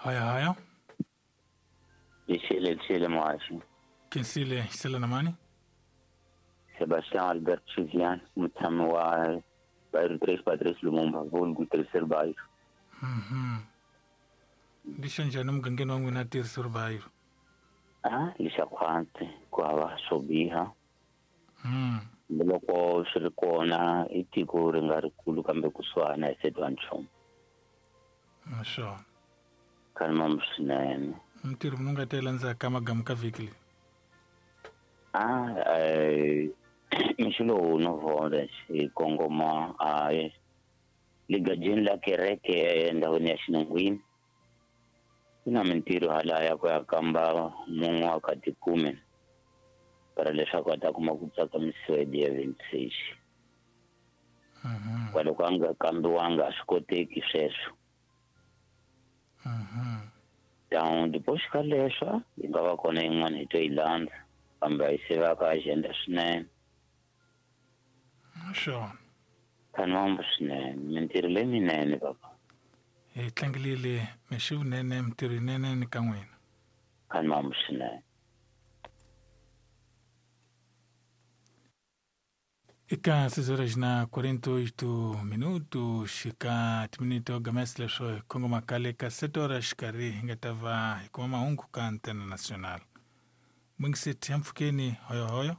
Hoyo hoyo. Lixile lixile muhaxi. Khensile xisela na mani? Sebastian Albert Chivian, mutshami wa bairro 3 Patrice Lumumba, vulgu terceiro bairro. Lixo njhani emugangeni wa n'wina terceiro bairro? Ah, lixa khwatsi ku hava swo biha. Loko swi ri kona i tiko ri nga rikulu kambe kusuhana hi setiwa nchumu. Swona. Khanimam swinene. Mintirho munhu nga ta yi landzaka ka magamu ka vhiki leyi? Ah, mixo lowu no vona hi kongoma a ligajeni la kereke endhawini ya xinungwini. Ku na mintirho halaya ku ya kamba mun'we wa ka tikume para leswaku a ta kuma ku tsakamisiwa hi dia 26. Kwaloko a nga kambiwanga a swi koteki sweswo. Down depois ka leswo yi nga va kona yin'wana hi to yi landza kambe a yi se va ka agenda swinene. Swona. Khanimambu swinene mintirho leyinene papa. Hi tlangelile mixi vunene mintirho yinene ni ka n'wina. Khanimambu swinene. Eka 6 horas na 48 minutos ka timinito gamesi leswo hi kongoma kale ka 7 horas xikarhi hi nga ta va hi kuma mahungu ka Antena Nacional. Mwingiseti ya mpfhukeni hoyohoyo.